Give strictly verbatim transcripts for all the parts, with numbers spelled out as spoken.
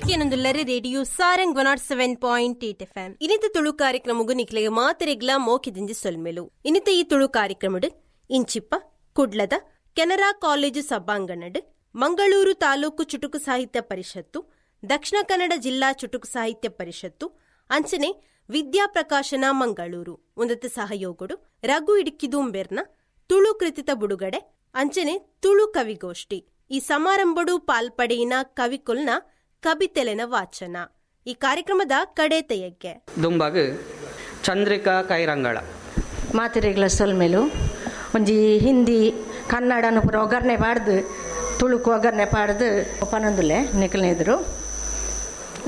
ಈರ್ಕೇನೊಂದುಲ್ಲರೆ radio Sarang one nought seven point eight F M. ಇನಿತ ತುಳು ಕಾರ್ಯಕ್ರಮಗು ನಿಕ್ಲೆಗೆ ಮಾತೆರೆಗ್ಲಾ ಮೋಕೆದಿಂಜಿ ಸೊಲ್ಮೆಲು. ಇನಿತ ಈ ತುಳು ಕಾರ್ಯಕ್ರಮಡು ಇಂಚಿಪ್ಪ ಕುಡ್ಲದ ಕೆನರಾ ಕಾಲೇಜು ಸಭಾಂಗಣಡ್ ಮಂಗಳೂರು ತಾಲೂಕು ಚುಟುಕು ಸಾಹಿತ್ಯ ಪರಿಷತ್ತು, ದಕ್ಷಿಣ ಕನ್ನಡ ಜಿಲ್ಲಾ ಚುಟುಕು ಸಾಹಿತ್ಯ ಪರಿಷತ್ತು, ಅಂಚನೆ ವಿದ್ಯಾಪ್ರಕಾಶನ ಮಂಗಳೂರು ಒಂದತ್ತ ಸಹಯೋಗಡು ರಘು ಇಡುಕಿದೂಂಬೆರ್ನ ತುಳು ಕೃತಿತ ಬುಡುಗಡೆ ಅಂಚನೆ ತುಳು ಕವಿಗೋಷ್ಠಿ. ಈ ಸಮಾರಂಭಡು ಪಾಲ್ಪಡೆಯಿನ ಕವಿಕೊಲ್ನ ಕಬಿತೆಲೆನ ವಾಚನ ಈ ಕಾರ್ಯಕ್ರಮದ ಕಡೆ ತೆಯಕ್ಕೆ. ದುಂಬಾಗ ಚಂದ್ರಿಕಾ ಕೈರಂಗಳ ಮಾತಿರೆಗ್ಲ ಸೊಲ್ಮೇಲು ಒಂಜಿ ಹಿಂದಿ ಕನ್ನಡನು ಪೂರ ಒಗ್ಗರಣೆ ಪಾಡ್ದು ತುಳುಕು ಒಗ್ಗರಣೆ ಪಾಡ್ದು ಪನೊಂದುಲ್ಲೆ ನಿಕಲ್ನ ಎದುರು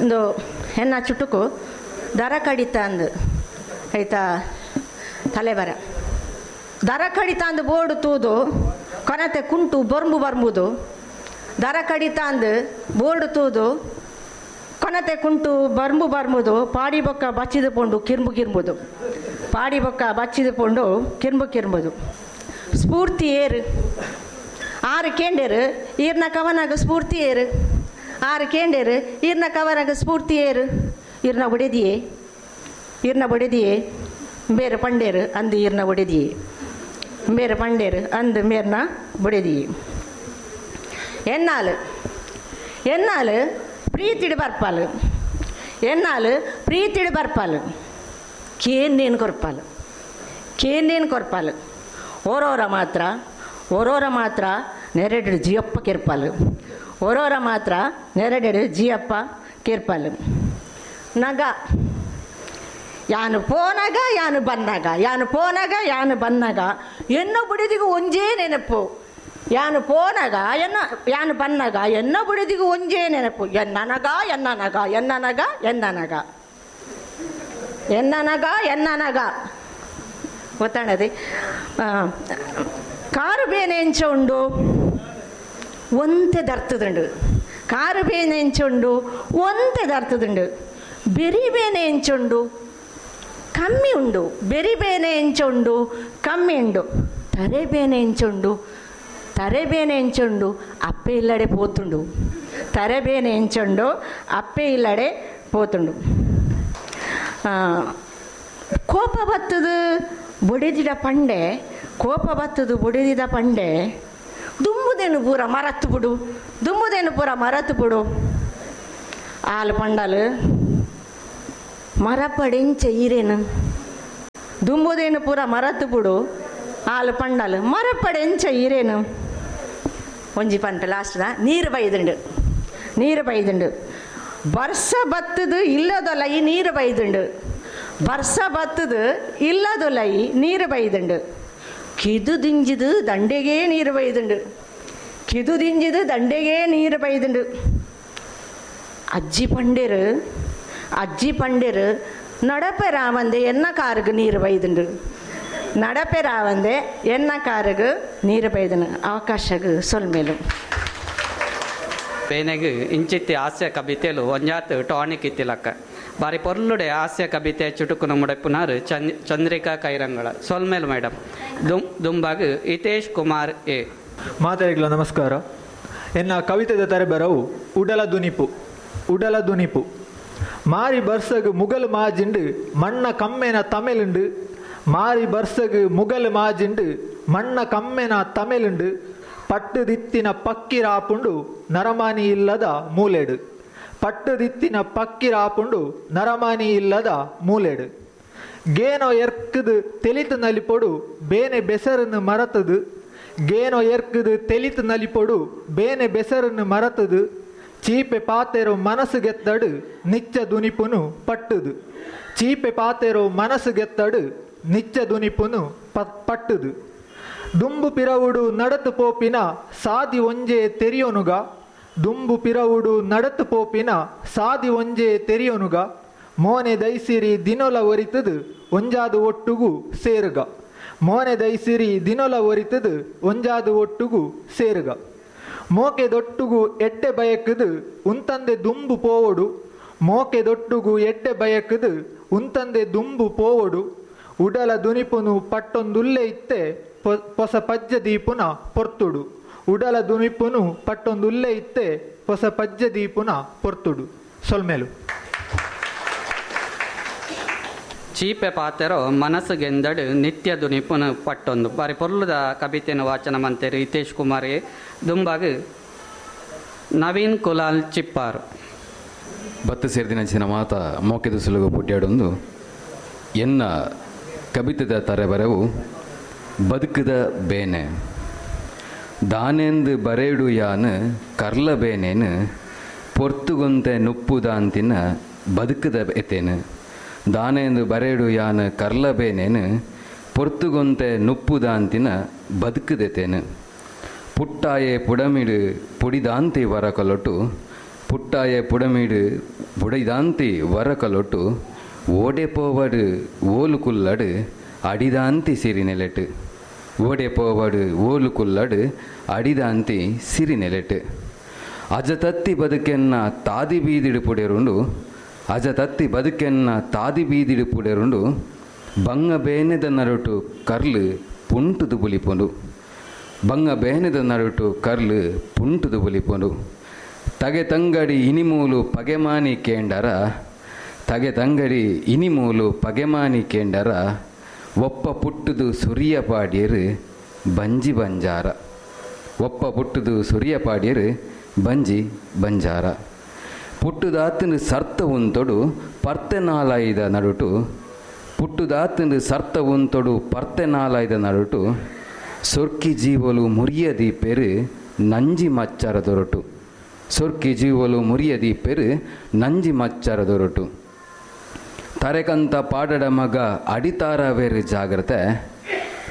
ಒಂದು ಹೆಣ್ಣ ಚುಟುಕು ದರ ಕಡಿತ ಅಂದು ಆಯ್ತಾ ತಲೆಬರ ದರ ಕಡಿತ ಅಂದು ಬೋರ್ಡು ತೂದು ಕೊನತೆ ಕುಂಟು ಬೊರ್ಂಬು ಬರ್ಂಬುದು ದರ ಕಡಿತ ಅಂದು ಬೋರ್ಡು ತೂದು ಕೊನತೆ ಕುಂಟು ಬರ್ಂಬು ಬರ್ಂಬುದು ಪಾಡಿ ಬೊಕ್ಕ ಬಚ್ಚಿದ ಪೋಂಡು ಕಿರ್ಂಬು ಕಿರ್ಂಬುದು ಪಾಡಿ ಬೊಕ್ಕ ಬಚ್ಚಿದ ಪೋಂಡು ಕಿರ್ಂಬು ಕಿರ್ಂಬುದು ಸ್ಫೂರ್ತಿ ಏರು ಆರು ಕೇಂಡೇರು ಈರ್ನ ಕವನಾಗ ಸ್ಫೂರ್ತಿ ಏರು ಆರು ಕೇಂಡೇರು ಈರ್ನ ಕವನಾಗ ಸ್ಫೂರ್ತಿ ಏರು ಈರ್ನ ಒಡೆದಿಯೇ ಈರ್ನ ಒಡೆದಿಯೇ ಬೇರೆ ಪಂಡೇರು ಅಂದು ಈರ್ನ ಒಡೆದಿಯೇ ಬೇರೆ ಪಂಡೇರು ಅಂದು ಮೇರ್ನ ಬೊಡೆದಿಯೇ ಎನ್ನಾಲು ಎನ್ನಾಲು ಪ್ರೀತಿಡು ಬರ್ಪಾಲು ಎನ್ನಾಲು ಪ್ರೀತಿಡು ಬರ್ಪಾಲು ಕೇಂದೇನು ಕೊರ್ಪಾಲು ಕೇಂದೇನು ಕೊರ್ಪಾಲು ಓರೋರ ಮಾತ್ರ ಓರೋರ ಮಾತ್ರ ನೆರಡೆಡು ಜಿಯಪ್ಪ ಕಿರ್ಪಾಲು ಓರೋರ ಮಾತ್ರ ನೆರಡೆಡು ಜಿಯಪ್ಪ ಕಿರ್ಪಾಲು ನಗ ಯಾನು ಪೋನಾಗ ಯಾನು ಬಂದಾಗ ಯಾನು ಪೋನಾಗ ಯಾನು ಬಂದಾಗ ಎನ್ನೋ ಬುಡಿದಿಗೂ ಒಂಜೇ ನೆನಪು ಯಾನು ಪೋನಾಗ ಎನ್ನ ಯಾನು ಬನ್ನಾಗ ಎನ್ನೋ ಬುಡಿದಿಗೂ ಒಂಜೇ ನೆನಪು ಎನ್ನನಗ ಎನ್ನನಗ ಎನ್ನನಗ ಎನ್ನನಗ ಎನ್ನನಗ ಎನ್ನನಗ ಗೊತ್ತಾಣದೆ. ಕಾರು ಬೇನೆ ಎಂಚ ಉಂಡು ಒಂತೆ ದರ್ತದುಂಡು ಕಾರು ಬೇನೆ ಎಂಚ ಉಂಡು ಒಂತೆ ದರ್ತದುಂಡು ಬೆರಿ ಬೇನೆ ಎಂಚ ಉಂಡು ಕಮ್ಮಿ ಉಂಡು ಬೆರಿ ಬೇನೆ ಎಂಚ ಉಂಡು ಕಮ್ಮಿ ಉಂಡು ತರೆ ಬೇನೆ ಎಂಚ ಉಂಡು ತರೆ ಬೇನೆ ಎಂಚ ಉಂಡು ಅಪ್ಪೆ ಇಲ್ಲಡೆ ಪೋತುಂಡು ತರೆ ಬೇನೆ ಎಂಚ ಉಂಡು ಅಪ್ಪೆ ಇಲ್ಲಡೆ ಪೋತುಂಡು. ಕೋಪ ಬತ್ತದು ಬೊಡೆದಿಡ ಪಂಡೆ ಕೋಪ ಬತ್ತದು ಬೊಡೆದಿದ ಪಂಡೆ ದುಂಬುದೇನು ಪೂರ ಮರತ್ತು ಬಿಡು ದುಂಬುದೇನು ಪೂರ ಮರತ್ತು ಬಿಡು ಆಲು ಪಂಡಲು ಮರಪಡೆಂಚ ಈರೇನು ದುಂಬುದೇನು ಪೂರ ಮರತ್ತು ಬಿಡು ಆಲು ಪಂಡಲು ಮರಪಡೆಂಚ ಈರೇನು ಒಂಜಿ ಪಂಟ ಲಾಸ್ಟ್ದ ನೀರು ಬೈದುಂಡು ನೀರು ಬೈದುಂಡು ಬರ್ಸ ಬತ್ತದು ಇಲ್ಲದೊಲ್ಲ ಈ ನೀರು ಬೈದುಂಡು ಬರ್ಸ ಬತ್ತದು ಇಲ್ಲದೊಲ್ಲ ಈ ನೀರು ಬೈದುಂಡು ಕಿದು ದಿಂಜಿದು ದಂಡೆಗೇ ನೀರು ಬೈದುಂಡು ಕಿದು ದಿಂಜಿದು ದಂಡೆಗೇ ನೀರು ಬೈದುಂಡು ಅಜ್ಜಿ ಪಂಡೇರು ಅಜ್ಜಿ ಪಂಡೇರು ನಡಪೆ ರಾವಂದೆ ಎನ್ನ ಕಾರುಗು ನೀರು ಬೈದುಂಡು ನಡಪೆ ರಾವಂದೆ ಎನ್ನ ಕಾರುಗು ನೀರು ಬೈದನು. ಅವಕಾಶಗು ಸೊಲ್ಮೇಲು ಬೇನೆಗ್ ಇಂಚಿತ್ತಿ ಹಾಸ್ಯ ಕವಿತೆಲು ಒಂಜಾತ್ ಟಾನಿಕ್ ಇತ್ತಿಲಕ್ಕ ಬಾರಿ ಪೊರ್ಲುಡೆ ಹಾಸ್ಯ ಕವಿತೆ ಚುಟುಕುನ ಮುಡಪುನಾರು ಚಂದ್ ಚಂದ್ರಿಕಾ ಕೈರಂಗಳ ಸೊಲ್ಮೇಲು ಮೇಡಮ್. ದುಂ ದುಂಬಾಗ್ ಹಿತೇಶ್ ಕುಮಾರ್ ಎ. ಮಾತಾಡಿಗ್ಲ ನಮಸ್ಕಾರ. ಎನ್ನ ಕವಿತೆದ ತರೆಬರವು ಉಡಲ ದುನಿಪು ಉಡಲ ದುನಿಪು ಮಾರಿ ಬರ್ಸಗ್ ಮುಗಲ್ ಮಾಜಿಂಡು ಮಣ್ಣ ಕಮ್ಮೆನ ತಮೆಲುಂಡು ಮಾರಿ ಬರ್ಸಗ್ ಮುಗಲ್ ಮಾಜಿಂಡು ಮಣ್ಣ ಕಮ್ಮೆನ ತಮೆಲುಂಡು ಪಟ್ಟುದಿತ್ತಿನ ಪಕ್ಕಿರಾಪುಂಡು ನರಮಾನಿ ಇಲ್ಲದ ಮೂಲೆಡು ಪಟ್ಟುದಿತ್ತಿನ ಪಕ್ಕಿರಾಪುಂಡು ನರಮಾನಿ ಇಲ್ಲದ ಮೂಲೆಡು ಗೇನೋ ಎರ್ಕದು ತೆಲಿತು ನಲಿಪೊಡು ಬೇನೆ ಬೆಸರನ್ನು ಮರತದು ಗೇನೋ ಎರ್ಕದು ತೆಲಿತು ನಲಿಪೊಡು ಬೇನೆ ಬೆಸರನ್ನು ಮರತದು ಚೀಪೆ ಪಾತೆರೋ ಮನಸ್ಸು ಗೆತ್ತಡು ನಿಚ್ಚ ದುನಿಪುನು ಪಟ್ಟುದು ಚೀಪೆ ಪಾತೆರೋ ಮನಸ್ಸು ಗೆತ್ತಡು ನಿಚ್ಚ ದುನಿಪುನು ಪಟ್ಟುದು ದುಂಬು ಪಿರವುಡು ನಡತು ಪೋಪಿನ ಸಾದಿ ಒಂಜೆ ತೆರಿಯೋನುಗ ದುಂಬು ಪಿರವುಡು ನಡತು ಪೋಪಿನ ಸಾದಿ ಒಂಜೆ ತೆರಿಯೋನುಗ ಮೋನೆ ದೈಸಿರಿ ದಿನೊಲ ಒರಿತದು ಒಂಜಾದು ಒಟ್ಟುಗು ಸೇರುಗ ಮೋನೆ ದೈಸಿರಿ ದಿನೊಲ ಒರಿತದು ಒಂಜಾದು ಒಟ್ಟುಗು ಸೇರುಗ ಮೋಕೆ ದೊಟ್ಟುಗು ಎಡ್ಡೆ ಬಯಕದು ಉಂತಂದೆ ದುಂಬು ಪೋವೊಡು ಮೋಕೆ ದೊಟ್ಟುಗು ಎಡ್ಡೆ ಬಯಕದು ಉಂತಂದೆ ದುಂಬು ಪೋವೊಡು ಉಡಲ ದುನಿಪುನು ಪಟ್ಟೊಂದುಲ್ಲೆ ಇತ್ತೆ ಪೊಸ ಪಜ್ಜ ದೀಪುನ ಪೊರ್ತುಡು ಉಡಲ ದುನಿಪುನು ಪಟ್ಟೊಂದುಲ್ಲೆ ಇತ್ತೆ ಪೊಸ ಪಜ್ಜ ದೀಪುನ ಪೊರ್ತುಡು. ಸೊಲ್ಮೇಲು. ಚೀಪೆ ಪಾತೆರೋ ಮನಸ್ಸುಗೆಂದಡು ನಿತ್ಯ ದುನಿಪುನ ಪಟ್ಟೊಂದು ಬಾರಿ ಪೊರ್ಲುದ ಕವಿತೆನ ವಾಚನ ಮಂತೇರು ಹಿತೇಶ್ ಕುಮಾರಿ. ದುಂಬಾಗ ನವೀನ್ ಕುಲಾಲ್ ಚಿಪ್ಪಾರು. ಬತ್ತು ಸೇರಿದಿನ ಮಾತ ಮೋಕೆದ ಸುಲುಗು ಪುಟ್ಯಾಡೊಂದು ಎನ್ನ ಕವಿತೆದ ತರೆಬರವು ಬದುಕದ ಬೇನೆ. ದಾನೆಂದು ಬರೇಡು ಯಾನು ಕರ್ಲ ಬೇನೇನು ಪೊರ್ತುಗೊಂತೆ ನುಪ್ಪುದಾಂತಿನ ಬದುಕದ ಎತ್ತೇನು. ದಾನೆಂದು ಬರೇಡು ಯಾನು ಕರ್ಲ ಬೇನೇನು ಪೊರ್ತುಗೊಂತೆ ನುಪ್ಪುದಾಂತಿನ ಬದುಕದೆತೇನು. ಪುಟ್ಟಾಯೆ ಪುಡಮಿಡು ಪುಡಿದಾಂತಿ ವರಕಲೊಟ್ಟು ಪುಟ್ಟಾಯೆ ಪುಡಮಿಡು ಪುಡಿದಾಂತಿ ವರಕಲೊಟ್ಟು ಓಡೆ ಪೋವಡು ಓಲು ಕುಲ್ಲಡು ಅಡಿದಾಂತಿ ಸಿರಿನೆಲೆಟು ಓಡೆ ಪೋವಡು ಓಲು ಕುಲ್ಲಡು ಅಡಿದಾಂತಿ ಸಿರಿನೆಲೆಟು. ಅಜತತ್ತಿ ಬದುಕೆನ್ನ ತಾದಿ ಬೀದಿಡು ಪುಡೆರುಂಡು ಅಜತತ್ತಿ ಬದುಕೆನ್ನ ತಾದಿ ಬೀದಿಡು ಪುಡೆರುಂಡು ಬಂಗ ಬೇನೆದ ನರುಟು ಕರ್ಲು ಪುಂಟುದು ಬುಲಿಪೊಂಡು ಬಂಗ ಬೇನೆದ ನರುಟು ಕರ್ಲು ಪುಂಟುದು ಬುಲಿಪೊಂಡು. ತಗೆ ತಂಗಡಿ ಇನಿಮೂಲು ಪಗೆಮಾನಿ ಕೇಂಡರ ತಗೆ ತಂಗಡಿ ಇನಿಮೂಲು ಪಗೆಮಾನಿ ಕೇಂಡರ ಒಪ್ಪ ಪುಟ್ಟುದು ಸುರಿಯ ಪಾಡ್ಯರು ಬಂಜಿ ಬಂಜಾರ ಒಪ್ಪ ಪುಟ್ಟುದು ಸುರಿಯ ಪಾಡ್ಯರು ಬಂಜಿ ಬಂಜಾರ. ಪುಟ್ಟುದಾತನು ಸರ್ತ ಉಂತೊಡು ಪರ್ತೆ ನಾಲಾಯ್ದ ನಡುಟು ಪುಟ್ಟುದಾತನು ಸರ್ತ ಉಂತೊಡು ಪರ್ತೆ ನಾಲಾಯ್ದ ನಡುಟು ಸೊರ್ಕಿ ಜೀವಲು ಮುರಿಯದಿ ಪೆರು ನಂಜಿ ಮಚ್ಚರ ದೊರಟು ಸೊರ್ಕಿ ಜೀವಲು ಮುರಿಯದಿ ಪೆರು ನಂಜಿ ಮಚ್ಚರ ದೊರಟು. ತರೆಕಂತ ಪಾಡಡ ಮಗ ಅಡಿತಾರವೇರು ಜಾಗ್ರತೆ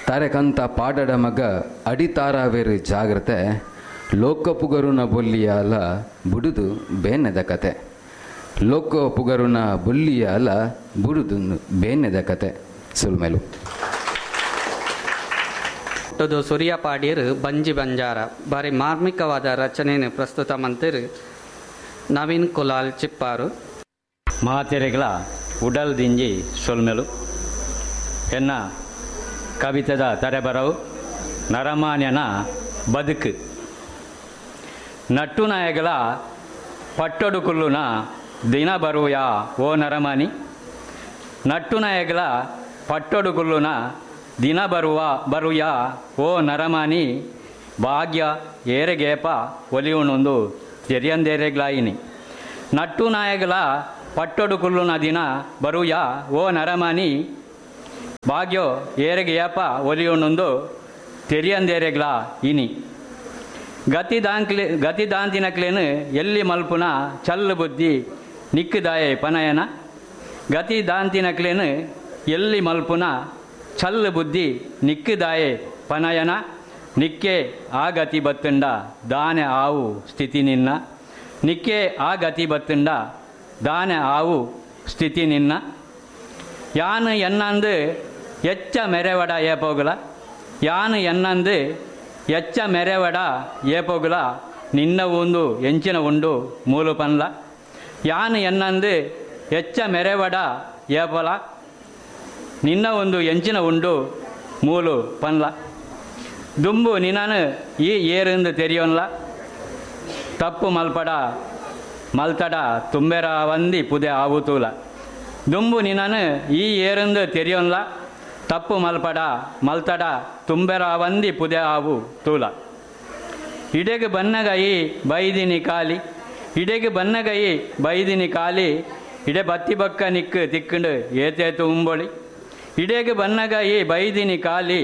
ತರೆಕಂತ ಪಾಡಡ ಮಗ ಅಡಿತಾರವೇರು ಜಾಗ್ರತೆ ಲೋಕಪುಗರುನ ಬೊಲ್ಲಿಯಾಲ ಬುಡುದು ಬೇನೆದ ಕತೆ ಲೋಕಪುಗರುನ ಬೊಲ್ಲಿಯಾಲ ಬುಡುದು ಬೇನೆದ ಕತೆ. ಸುಲ್ಮೇಲು. ಸುರಿಯ ಪಾಡೀರು ಬಂಜಿ ಬಂಜಾರ ಬಾರಿ ಮಾರ್ಮಿಕವಾದ ರಚನೆಯನ್ನು ಪ್ರಸ್ತುತ ಮಂತಿರು ನವೀನ್ ಕುಲಾಲ್ ಚಿಪ್ಪಾರು. ಮಾತೆರೆಗಳ ಉಡಲ್ ದಿಂಜಿ ಸೊಲ್ಮೆಲು. ಎನ್ನ ಕವಿತೆದ ತರೆಬರವು ನರಮಾನ್ಯನ ಬದುಕು. ನಟ್ಟು ನಾಯಗಳ ಪಟ್ಟೊಡು ಕುಲ್ಲುನ ದಿನ ಬರುವೆಯಾ ಓ ನರಮಾನಿ ನಟ್ಟು ನಾಯಗಳ ಪಟ್ಟೊಡು ಕುಲ್ಲುನ ದಿನ ಬರುವ ಬರುಯಾ ಓ ನರಮಾನಿ ಭಾಗ್ಯ ಏರೆಗೇಪ ಒಲಿಯುಣೊಂದು ತೆರಿಯಂದೇರೆಗ್ಲಾಯಿನಿ. ನಟ್ಟು ನಾಯಗಳ ಪಟ್ಟೊಡು ಕುಲ್ಲುನ ದಿನ ಬರುಯಾ ಓ ನರಮಾನಿ ಭಾಗ್ಯೋ ಏರೆಗೇಪ ಒಲಿಯುಣೊಂದು ತೆರಿಯಂದೇರೆಗ್ಲಾ ಇನಿ. ಗತಿ ದಾಂಕ್ಲೆ ಗತಿ ದಾಂತಿನಕ್ಲೇನು ಎಲ್ಲಿ ಮಲ್ಪುನ ಚಲ್ಲು ಬುದ್ಧಿ ನಿಕ್ಕುದಾಯೆ ಪನಯನ ಗತಿ ದಾಂತಿನಕ್ಲೇನು ಎಲ್ಲಿ ಮಲ್ಪುನ ಚಲ್ಲು ಬುದ್ಧಿ ನಿಕ್ಕುದಾಯೆ ಪನಯನ ನಿಕ್ಕೆ ಆ ಗತಿ ಬತ್ತುಂಡ ದಾನೆ ಆವು ಸ್ಥಿತಿ ನಿನ್ನ ನಿಕ್ಕೆ ಆ ಗತಿ ಬತ್ತುಂಡ ದಾನೆ ಆವು ಸ್ಥಿತಿ ನಿನ್ನ. ಯಾನು ಎನ್ನಂದು ಎಚ್ಚ ಮೆರೆವಡ ಏಪೋಗುಲ ಯಾನು ಎನ್ನಂದು ಎಚ್ಚ ಮೆರೆವಡ ಏಪೋಗುಲ ನಿನ್ನ ಒಂದು ಎಂಚಿನ ಉಂಡು ಮೂಲು ಪನ್ಲ ಯಾನು ಎನ್ನಂದು ಎಚ್ಚ ಮೆರೆವಡ ಏಪೊಲ ನಿನ್ನ ಒಂದು ಎಂಚಿನ ಉಂಡು ಮೂಲು ಪನ್ಲ. ದುಂಬು ನಿನ್ನನು ಈ ಏರೆಂದು ತೆರಿಯೋನ್ಲ ತಪ್ಪು ಮಲ್ಪಡ ಮಲ್ತಡ ತುಂಬೆರ ವಂದಿ ಪುದೆ ಆವುತೂಲ ದುಂಬು ನಿನ್ನನು ಈ ಏರೆಂದು ತೆರಿಯೋನ್ಲ ತಪ್ಪು ಮಲ್ಪಡ ಮಲ್ತಡ ತುಂಬೆರ ವಂದಿ ಪುದೆ ಆವು ತೂಲ. ಇಡೆಗೆ ಬನ್ನಗೈ ಬೈದಿನಿ ಕಾಲಿ ಇಡೆಗೆ ಬನ್ನಗೈ ಬೈದಿನಿ ಕಾಲಿ ಇಡೆ ಬತ್ತಿ ಬಕ್ಕ ನಿಕ್ಕು ತಿಕ್ಕಂಡು ಏತೇತು ಉಂಬೊಳಿ ಇಡೆಗೆ ಬನ್ನಗೈ ಬೈದಿನಿ ಕಾಲಿ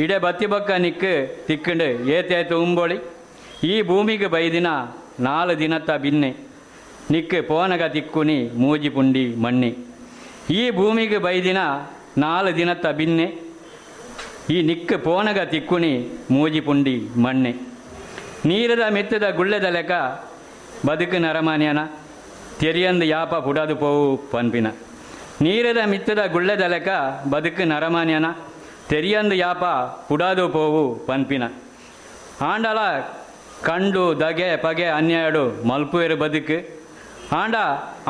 ಇಡೆ ಬತ್ತಿ ಬಕ್ಕ ನಿಕ್ಕು ತಿಕ್ಕಂಡು ಏತೇತು ಉಂಬೊಳಿ. ಈ ಭೂಮಿಗೆ ಬೈದಿನ ನಾಲು ದಿನತ್ತ ಬಿನ್ನೆ ನಿಕ್ಕು ಪೋನಗ ತಿಕ್ಕುನಿ ಮೂಜಿ ಪುಂಡಿ ಮಣ್ಣಿ ಈ ಭೂಮಿಗೆ ಬೈದಿನ ನಾಲು ದಿನತ್ತ ಬಿನ್ನೆ ಈ ನಿಕ್ಕು ಪೋನಗ ತಿಕ್ಕುನಿ ಮೂಜಿ ಪುಂಡಿ ಮಣ್ಣೆ. ನೀರದ ಮೆತ್ತದ ಗುಳ್ಳೆದ ಲೆಕ್ಕ ಬದುಕು ನರಮಾನ್ಯನ ತೆರಿಯಂದು ಯಾಪ ಪುಡದು ಪೋವು ಪನ್ಪಿನ ನೀರದ ಮಿತ್ತದ ಗುಳ್ಳೆದ ಲೆಕ್ಕ ಬದುಕು ನರಮಾನ್ಯನ ತೆರಿಯಂದು ಯಾಪ ಪುಡದು ಪೋವು ಪನ್ಪಿನ. ಆಂಡಲ ಕಂಡು ದಗೆ ಪಗೆ ಅನ್ಯಾಯಡು ಮಲ್ಪುವೆರು ಬದುಕು ಆಂಡ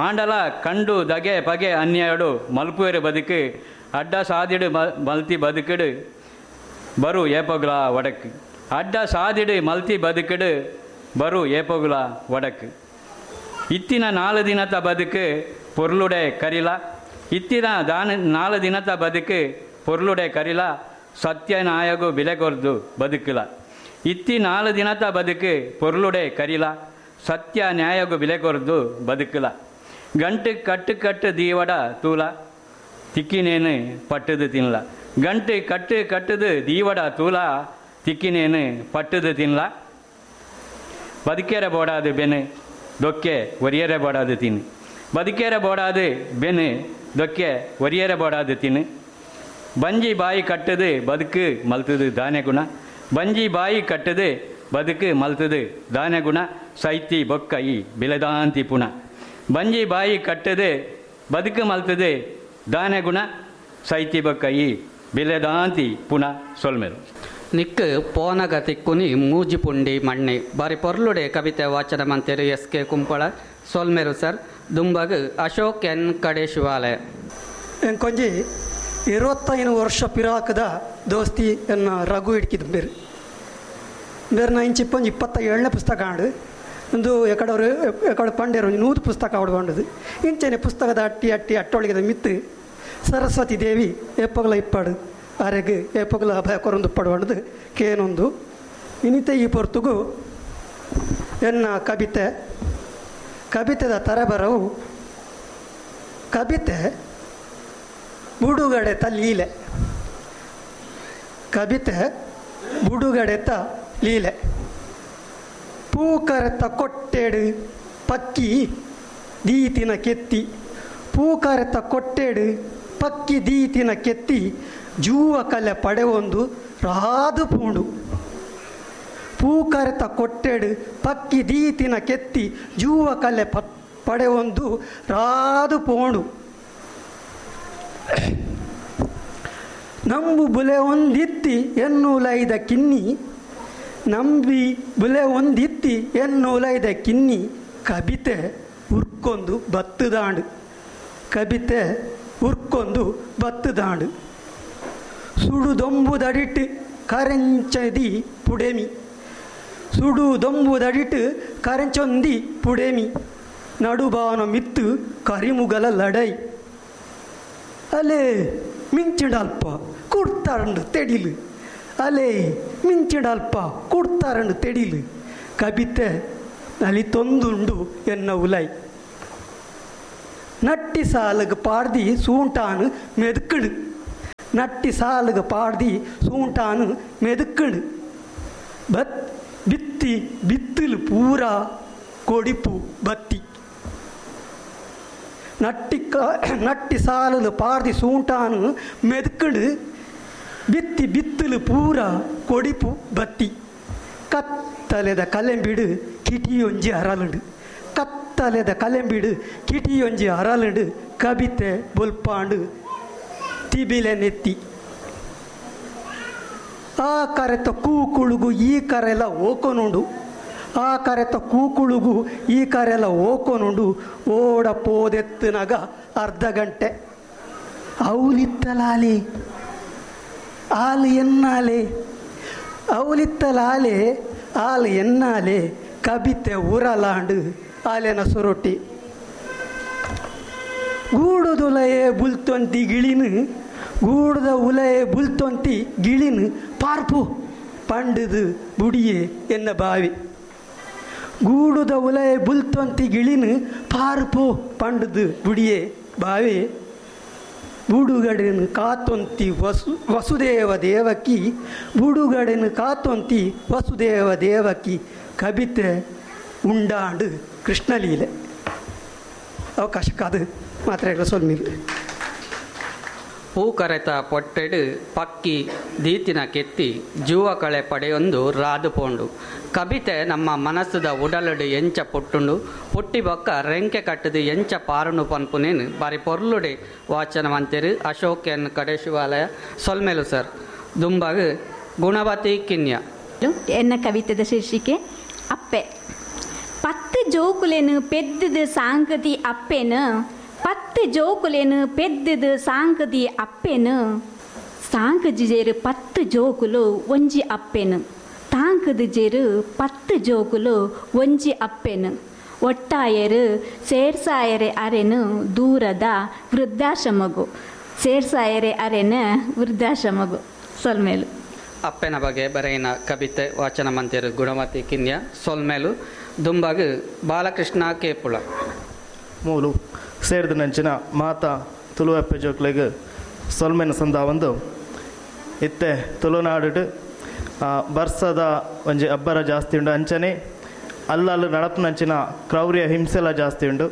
ಆಂಡಲ ಕಂಡು ದಗೆ ಪಗೆ ಅನ್ಯಾಯಡು ಮಲ್ಪುವೆರು ಬದುಕು ಅಡ್ಡ ಸಾದಿಡು ಮಲ್ತಿ ಬದುಕಡು ಬರು ಏಪೊಗ್ಲ ಒಡಕು ಅಡ್ಡ ಸಾದಿಡು ಮಲ್ತಿ ಬದುಕಡು ಬರು ಏಪೊಗ್ಲ ಒಡಕು. ಇತ್ತಿನ ನಾಲು ದಿನತ ಬದುಕು ಪೊರ್ಲುಡೆ ಕರಿಲ ಇತ್ತಿನ ದಾನ ನಾಲು ದಿನತ ಬದುಕು ಪೊರ್ಲುಡೆ ಕರಿಲ ಸತ್ಯನಾಯಗು ಬಿಲೆ ಕೊರ್ದು ಬದುಕಲ ಇತ್ತಿ ನಾಲು ದಿನತ ಬದುಕು ಪೊರ್ಲುಡೆ ಕರಿಲ ಸತ್ಯ ನ್ಯಾಯಗು ಬಿಲೆ ಕೊರ್ದು ಬದುಕಲ ಗಂಟು ಕಟ್ಟು ಕಟ್ಟು ದೀವಡ ತೂಲ ತಿಕ್ಕಿನೇನು ಪಟ್ಟದು ತಿನ್ಲ ಗಂಟು ಕಟ್ಟು ಕಟ್ಟದು ದೀವಡ ತೂಲ ತಿಕ್ಕಿನೇನು ಪಟ್ಟದು ತಿನ್ಲ ಬದುಕೇರ ಬೋಡಾದು ಬೆನು ದೊಕ್ಕೆ ಒರಿಯರೆ ಬೋಡಾದು ತಿನ್ನು ಬದುಕೇರ ಬೋಡಾದು ಬೆನು ದೊಕ್ಕೆ ಒರಿಯರೆ ಬೋಡಾದು ತಿನ್ನು ಬಂಜಿ ಬಾಯಿ ಕಟ್ಟದು ಬದುಕು ಮಲ್ತದು ದಾನೆ ಗುಣ ಬಂಜಿ ಬಾಯಿ ಕಟ್ಟದು ಬದುಕು ಮಲ್ತದು ದಾನೆ ಗುಣ ಸೈತಿ ಬೊಕ್ಕ ಈ ಬಿಲದಾಂತಿ ಪುಣ ಬಂಜಿ ಬಾಯಿ ಕಟ್ಟದು ಬದುಕು ಮಲ್ತದು ದಾನೆ ಗುಣ ಸೈತಿ ಬೊಕ್ಕ ಈ ಬಿಲದಾಂತಿ ಪುಣ ಸೊಲ್ಮೆಲು. ನಿಕ್ ಪೋನಗ ತಿಕ್ಕುನಿ ಮೂಜಿ ಪುಂಡಿ ಮಣ್ಣೆ ಬಾರಿ ಪೊರ್ಲುಡೆ ಕವಿತೆ ವಾಚನ ಮಂತೇರು ಎಸ್ ಕೆ ಕುಂಪಳ ಸೊಲ್ಮೇರು ಸರ್. ದುಂಬಗ್ ಅಶೋಕ್ ಎನ್ ಕಡೆ ಶಿವಾಲಯ. ಎಂಕೊಂಜಿ ಇರುವತ್ತೈದು ವರ್ಷ ಪಿರಾಕದ ದೋಸ್ತಿ ಎನ್ನ ರಘು ಇಡ್ಕಿದ್ ಬೇರೆ ಬೇರೆ ನಾ ಇಂಚಿಪ್ಪೊಂಜಿ ಇಪ್ಪತ್ತ ಏಳನೇ ಪುಸ್ತಕ ಆಂಡು ಒಂದು ಎಕಡವರು ಎಕಡೆ ಪಂಡೇರು ಒಂಜಿ ನೂದು ಪುಸ್ತಕ ಆಡ್ಬಂಡದು ಇಂಚನೆ ಪುಸ್ತಕದ ಅಟ್ಟಿ ಅಟ್ಟಿ ಅಟ್ಟೊಳಗಿದ ಮಿತ್ತು ಸರಸ್ವತಿ ದೇವಿ ಏಪಗಲ ಇಪ್ಪಾಡು ಆರೆಗ್ ಏಪಗಲ ಅಭಯ ಕೊರೊಂದು ಪಡುವಂಡದು ಕೇನೊಂದು ಇನ್ನಿತ ಈ ಪೊರ್ತುಗು ಎನ್ನ ಕವಿತೆ ಕವಿತೆದ ತರಬರವು ಕವಿತೆ ಬುಡುಗಡೆತ ಲೀಲೆ ಕವಿತೆ ಬುಡುಗಡೆತ ಲೀಲೆ ಪೂಕರೆತ ಕೊಟ್ಟೆಡು ಪಕ್ಕಿ ದೀತಿನ ಕೆತ್ತಿ ಪೂಕರೆತ ಕೊಟ್ಟೆಡು ಪಕ್ಕಿ ದೀತಿನ ಕೆತ್ತಿ ಜೂವ ಕಲೆ ಪಡೆವೊಂದು ರಾದು ಪೂಂಡು ಪೂಕರೆತ ಕೊಟ್ಟೆಡು ಪಕ್ಕಿ ದೀತಿನ ಕೆತ್ತಿ ಜೂವ ಕಲೆ ಪ ಪಡೆವೊಂದು ರಾದು ಪೋಂಡು ನಂಬು ಬುಲೆ ಒಂದಿತ್ತಿ ಎನ್ನುಲೈದ ಕಿನ್ನಿ ನಂಬಿ ಬುಲೆ ಒಂದಿತ್ತಿ ಎನ್ನುಲೈದ ಕಿನ್ನಿ ಕಬಿತೆ ಉರ್ಕೊಂದು ಬತ್ತುದಾಂಡು ಕಬಿತೆ ಉರ್ಕೊಂದು ಬತ್ತುದಾಂಡು ಸುಡುದೊಂಬುದಡಿಟ್ಟು ಕರೆಂಚದಿ ಪುಡೆಮಿ ಸುಡುದೊಂಬುದಡಿಟ್ಟು ಕರೆಂಚೊಂದಿ ಪುಡೆಮಿ ನಡುಬಾನ ಮಿತ್ತು ಕರಿಮುಗಲ ಲಡೈ ಅಲೆ ಮಿಂಚಿಡಲ್ಪ ಕುಡ್ತಾರಂಡು ತೆಡಿಲು ಅಲೆ ಮಿಂಚಿಡಲ್ಪ ಕುಡ್ತಾರಂಡು ತೆಡಿಲು ಕಬಿತೆ ನಲಿತೊಂದುಂಡು ಎನ್ನ ಉಲೈ ನಟ್ಟಿ ಸಾಲಗ ಪಾಡ್ದಿ ಸೂಂಟಾನು ಮೆದುಕಡು ನಟ್ಟಿ ಸಾಲಗ ಪಾಡ್ದಿ ಸೂಂಟಾನು ಮೆದುಕಡು ಬತ್ ಬಿತ್ತಿ ಬಿತ್ತಲು ಪೂರಾ ಕೊಡಿಪು ಬತ್ತಿ ನಟ್ಟಿ ಕ ನಟ್ಟಿ ಸಾಲಲು ಪಾರ್ದಿ ಸೂಂಟಾನು ಮೆದುಕಡು ಬಿತ್ತಿ ಬಿತ್ತಲು ಪೂರಾ ಕೊಡಿಪು ಬತ್ತಿ ಕತ್ತಲೆದ ಕಲೆಂಬಿಡು ಕಿಟಿಯೊಂಜಿ ಅರಲುಂಡು ಕತ್ತಲೆದ ಕಲೆಂಬಿಡು ಕಿಟಿಯೊಂಜಿ ಅರಲುಂಡು ಕಬಿತೆ ಬೊಲ್ಪಾಂಡು ತಿಬಿಲೆ ನೆತ್ತಿ ಆ ಕರೆತ ಕೂಕುಳುಗು ಈ ಕರೆಲ ಓಕೊನುಂಡು ಆ ಕರೆತ ಕೂಕುಳುಗು ಈ ಕರೆಲ ಓಕೊನುಂಡು ಓಡ ಪೋದೆತ್ತನಾಗ ಅರ್ಧ ಗಂಟೆ ಅವಲಿತ್ತಲಾಲೆ ಆಲು ಎನ್ನಾಲೆ ಅವಲಿತ್ತಲಾಲೆ ಆಲು ಎನ್ನಾಲೆ ಕಬಿತೆ ಊರಲಾಂಡು ಆಲೆನ ಸುರೊಟ್ಟಿ ಗೂಡುದುಲಯೇ ಬುಲ್ತೊಂತಿ ಗಿಳಿನು ಗೂಡದ ಉಲಯೇ ಬುಲ್ತೊಂತಿ ಗಿಳಿನು ಪಾರ್ಪು ಪಂಡದು ಬುಡಿಯೇ ಎನ್ನ ಬಾವಿ ಗೂಡುದ ಉಲಯ ಬುಲ್ತೊಂತಿ ಗಿಳಿನು ಪಾರ್ಪು ಪಂಡದು ಬುಡಿಯೇ ಬಾವಿ ಬುಡುಗಡೆನು ಕಾತೊಂತಿ ವಸು ವಸುದೇವ ದೇವಕಿ ಬುಡುಗಡೆನು ಕಾತೊಂತಿ ವಸುದೇವ ದೇವಕಿ ಕಬಿತೆ ಉಂಡಾಂಡು ಕೃಷ್ಣಲೀಲೆ ಅವಕಾಶಕ್ಕಾದ ಮಾತ್ರೆಗಳ ಸೊಲ್ಮಿಲ್. ಹೂ ಕರೆತ ಪೊಟ್ಟೆಡು ಪಕ್ಕಿ ದೀತಿನ ಕೆತ್ತಿ ಜೂವ ಕಳೆ ಪಡೆಯೊಂದು ರಾದು ಪೋಂಡು ಕಬಿತೆ ನಮ್ಮ ಮನಸ್ಸುದ ಉಡಲುಡು ಎಂಚ ಪುಟ್ಟುಂಡು ಪುಟ್ಟಿ ಬೊಕ್ಕ ರೆಂಕೆ ಕಟ್ಟದು ಎಂಚ ಪಾರುಂಡು ಪನ್ಪುನೇನು ಬಾರಿ ಪೊರ್ಲುಡೆ ವಾಚನ ಮಂತೇರು ಅಶೋಕ್ ಎನ್ ಕಡೇಶಿವಾಲಯ ಸೊಲ್ಮೇಲು ಸರ್. ದುಂಬಾಗು ಗುಣವತಿ ಕಿನ್ಯ. ಎನ್ನ ಕವಿತೆದ ಶೀರ್ಷಿಕೆ ಅಪ್ಪೆ. ಪತ್ತು ಜೋಕುಲೇನು ಪೆದ್ದದು ಸಾಂಗತಿ ಅಪ್ಪೆನು ಪತ್ತು ಜೋಕುಲೇನು ಪೆದ್ದದು ಸಾಂಗದಿ ಅಪ್ಪೆನು ಸಾಂಗಜಿ ಜೇರು ಪತ್ತು ಜೋಕುಲು ಒಂಜಿ ಅಪ್ಪೆನು ತಾಂಕದ ಜೇರು ಪತ್ತು ಜೋಕುಲು ಒಂಜಿ ಅಪ್ಪೆನು ಒಟ್ಟಾಯರು ಸೇರ್ಸಾಯರೆ ಅರೆನು ದೂರದ ವೃದ್ಧಾಶ್ರಮಗು ಸೇರ್ಸಾಯರೆ ಅರೆನ ವೃದ್ಧಾಶ್ರಮಗು. ಸೊಲ್ಮೇಲು. ಅಪ್ಪನ ಬಗ್ಗೆ ಬರೆಯಿನ ಕವಿತೆ ವಾಚನ ಮಂತಿರು ಗುಣವತಿ ಕಿನ್ಯ. ಸೊಲ್ಮೇಲು. ದುಂಬಾಗು ಬಾಲಕೃಷ್ಣ ಕೇಪುಳ. ಮೂಲು ಸೇರಿದ ನಂಚಿನ ಮಾತಾ ತುಳುವಪ್ಪೆ ಜೋಕ್ಲೆಗ್ ಸೊಲ್ಮೆನ ಸಂದಾವೊಂದು ಇತ್ತೆ ತುಳುನಾಡು ಬರ್ಸದ ಒಂಜಿ ಅಬ್ಬರ ಜಾಸ್ತಿ ಉಂಡು, ಅಂಚನೆ ಅಲ್ಲಲ್ಲಿ ನಡಪುನಂಚಿನ ಕ್ರೌರ್ಯ ಹಿಂಸೆಲ ಜಾಸ್ತಿ ಉಂಡು.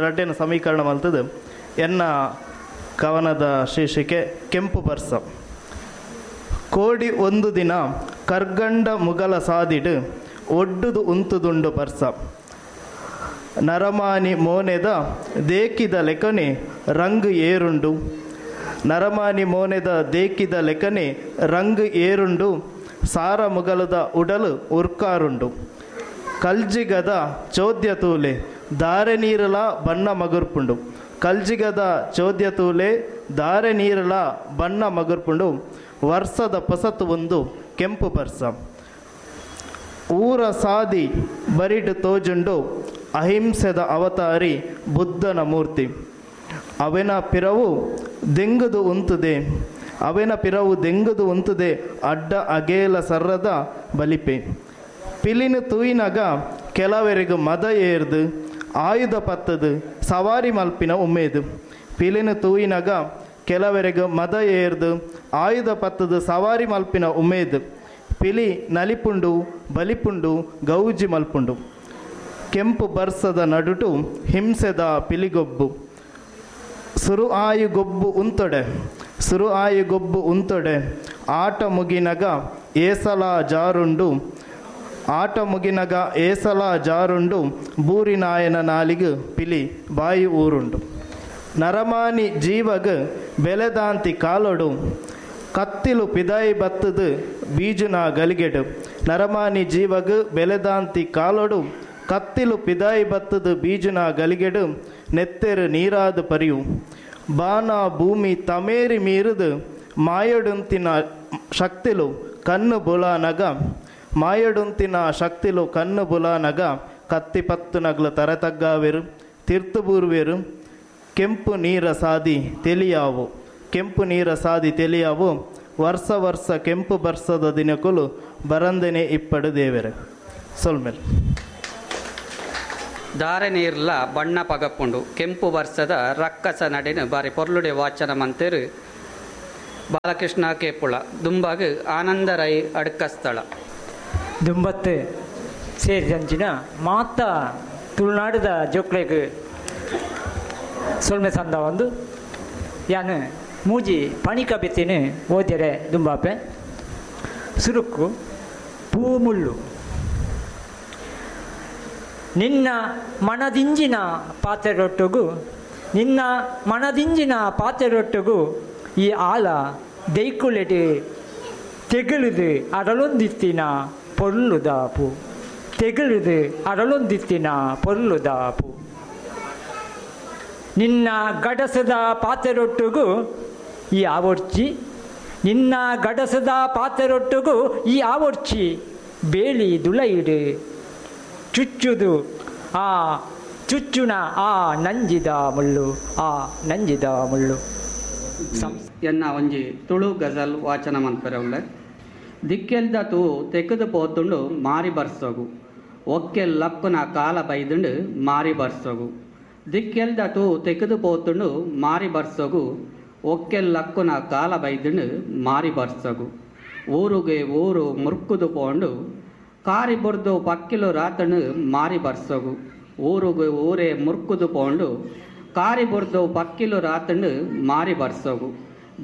ರಡ್ಡೆನ ಸಮೀಕರಣ ಮಲ್ತದು ಎನ್ನ ಕವನದ ಶೀರ್ಷಿಕೆ ಕೆಂಪು ಬರ್ಸ. ಕೋಡಿ ಒಂದು ದಿನ ಕರ್ಗಂಡ ಮುಗಲ ಸಾದಿಡು ಒಡ್ಡುದು ಉಂತುದುಂಡು ಬರ್ಸ, ನರಮಾನಿ ಮೋನೆದ ದೇಕಿದ ಲೆಕ್ಕನೆ ರಂಗು ಏರುಂಡು, ನರಮಾನಿ ಮೋನೆದ ದೇಕಿದ ಲೆಕ್ಕನೆ ರಂಗು ಏರುಂಡು, ಸಾರ ಮುಗಲದ ಉಡಲು ಉರ್ಕಾರುಂಡು, ಕಲ್ಜಿಗದ ಚೋದ್ಯ ತೂಲೆ ದಾರೆ ನೀರಲ ಬಣ್ಣ ಮಗುರ್ಪುಂಡು, ಕಲ್ಜಿಗದ ಚೋದ್ಯ ತೂಲೆ ದಾರೆ ನೀರಲ ಬಣ್ಣ ಮಗುರ್ಪುಂಡು, ವರ್ಷದ ಪೊಸತು ಒಂದು ಕೆಂಪು ಬರ್ಸ. ಊರ ಸಾದಿ ಬರಿಡು ತೋಜುಂಡು ಅಹಿಂಸೆದ ಅವತಾರಿ ಬುದ್ಧನ ಮೂರ್ತಿ, ಅವೆನ ಪಿರವು ದೆಂಗುದು ಉಂತುದೆ, ಅವೆನ ಪಿರವು ದೆಂಗುದು ಉಂತುದೆ ಅಡ್ಡ ಅಗೇಲ ಸರ್ರದ ಬಲಿಪೆ. ಪಿಲಿನ ತೂಯಿನಾಗ ಕೆಲವರಿಗೂ ಮದ ಏರ್ದು ಆಯುಧ ಪತ್ತದು ಸವಾರಿ ಮಲ್ಪಿನ ಉಮೇದು, ಪಿಲಿನ ತೂಯಿನಾಗ ಕೆಲವರಿಗೂ ಮದ ಏರ್ದು ಆಯುಧ ಪತ್ತದು ಸವಾರಿ ಮಲ್ಪಿನ ಉಮೇದು, ಪಿಲಿ ನಲಿಪುಂಡು ಬಲಿಪುಂಡು ಗೌಜಿ ಮಲ್ಪುಂಡು. ಕೆಂಪು ಬರ್ಸದ ನಡುಟು ಹಿಂಸೆದ ಪಿಲಿಗೊಬ್ಬು, ಸುರು ಆಯು ಗೊಬ್ಬು ಉಂತೊಡೆ, ಸುರು ಆಯು ಗೊಬ್ಬು ಉಂತೊಡೆ, ಆಟ ಮುಗಿನಗ ಏಸಲ ಜಾರುಂಡು, ಆಟ ಮುಗಿನಗ ಏಸಲ ಜಾರುಂಡು, ಬೂರಿನಾಯನ ನಾಲಿಗು ಪಿಲಿ ಬಾಯಿ ಊರುಂಡು. ನರಮಾನಿ ಜೀವಗ ಬೆಲೆದಾಂತಿ ಕಾಲೊಡು ಕತ್ತಿಲು ಪಿದಾಯಿ ಬತ್ತದು ಬೀಜುನ ಗಲಿಗೆಡು, ನರಮಾನಿ ಜೀವಗ ಬೆಲೆದಾಂತಿ ಕಾಲೊಡು ಕತ್ತಿಲು ಪಿದಾಯಿ ಬತ್ತದು ಬೀಜುನ ಗಲಿಗೆಡು, ನೆತ್ತೆರು ನೀರಾದ ಪರಿಯು. ಬಾನ ಭೂಮಿ ತಮೇರಿ ಮೀರುದು ಮಾಯೊಡುಂತಿನ ಶಕ್ತಿಲು ಕಣ್ಣು ಬುಲಾನಗ, ಮಾಯೊಡುಂತಿನ ಶಕ್ತಿಲು ಕಣ್ಣು ಬುಲಾನಗ, ಕತ್ತಿ ಪತ್ತು ನಗ್ಲು ತರತಗ್ಗಾವೆರು ತಿರ್ತು ಬೂರ್ವೆರು, ಕೆಂಪು ನೀರ ಸಾದಿ ತಿಳಿಯಾವು, ಕೆಂಪು ನೀರ ಸಾದಿ ತಿಳಿಯಾವು, ವರ್ಷ ವರ್ಷ ಕೆಂಪು ಬರ್ಸದ ದಿನಕುಲು ಬರಂದನೆ ಇಪ್ಪಡು ದೇವೆರೆ. ಸೊಲ್ಮೆಲ್. ದಾರೆ ನೀರ್ಲ ಬಣ್ಣ ಪಗಪುಂಡು ಕೆಂಪು ವರ್ಷದ ರಕ್ಕಸ ನಡಿನ ಬಾರಿ ಪೊರ್ಲುಡೆ ವಾಚನ ಮಂತಿರು ಬಾಲಕೃಷ್ಣ ಕೇಪುಳ. ದುಂಬಾಗು ಆನಂದ ರೈ ಅಡ್ಕಸ್ಥಳ. ದುಂಬತ್ತು ಸೇರಿದಂಚಿನ ಮಾತ ತುಳುನಾಡದ ಜೋಕ್ಲೆಗ್ ಸೊಲ್ಮೆ ಸಂದ ಒಂದು ಯಾನು ಮೂಜಿ ಪಣಿಕಬೆತ್ತಿನ ಓದ್ಯರೆ ದುಂಬಾಪೆ. ಸುರುಕು ಪೂಮುಳ್ಳು. ನಿನ್ನ ಮನದಿಂಜಿನ ಪಾತೆರೊಟ್ಟುಗು, ನಿನ್ನ ಮನದಿಂಜಿನ ಪಾತೆರೊಟ್ಟುಗು ಈ ಆಲ ದೈಕುಲೆಡೆ ತೆಗಳುದು ಅರಳೊಂದಿತ್ತಿನ ಪೊರ್ಲುದಾಪು, ತೆಗಳುದು ಅರಳೊಂದಿತ್ತಿನ ಪೊರ್ಲುದಾಪು. ನಿನ್ನ ಗಡಸದ ಪಾತೆರೊಟ್ಟುಗು ಈ ಆವೊರ್ಚಿ, ನಿನ್ನ ಗಡಸದ ಪಾತೆರೊಟ್ಟುಗು ಈ ಆವೊರ್ಚಿ ಬೇಲಿ ದುಲೈಡು ಚುಚ್ಚುದು ಆ ಚುಚ್ಚುನ ಆ ನಂಜಿದ ಮುಳ್ಳು, ಆ ನಂಜಿದ ಮುಳ್ಳು. ಎನ್ನ ಒಂಜಿ ತುಳು ಗಜಲ್ ವಾಚನ ಮನ್ಪೆರವುಳ್ಳ. ದಿಕ್ಕೆಲ್ದ ತೂ ತೆಗೆದು ಪೋತುಂಡು ಮಾರಿ ಬರ್ಸೋಗು, ಒಕ್ಕೆಲ್ ಲಕ್ಕುನ ಕಾಲ ಬೈದುಂಡು ಮಾರಿ ಬರ್ಸೋಗು. ದಿಕ್ಕೆಲ್ದ ತೂ ತೆಗೆದು ಪೋತುಂಡು ಮಾರಿ ಬರ್ಸೋಗು, ಒಕ್ಕೆಲ್ ಲಕ್ಕುನ ಕಾಲ ಬೈದುಂಡು ಮಾರಿ ಬರ್ಸೋಗು. ಊರುಗೆ ಊರು ಮುರ್ಕುದು ಪೋಂಡು ಕಾರಿ ಬುರ್ದು ಪಕ್ಕಿಲು ರಾತಣು ಮಾರಿ ಬರ್ಸೋಗು. ಊರುಗೆ ಊರೇ ಮುರ್ಕುದು ಪೋಂಡು ಕಾರಿ ಬುರ್ದು ಪಕ್ಕಿಲು ರಾತಣು ಮಾರಿ ಬರ್ಸೋಗು.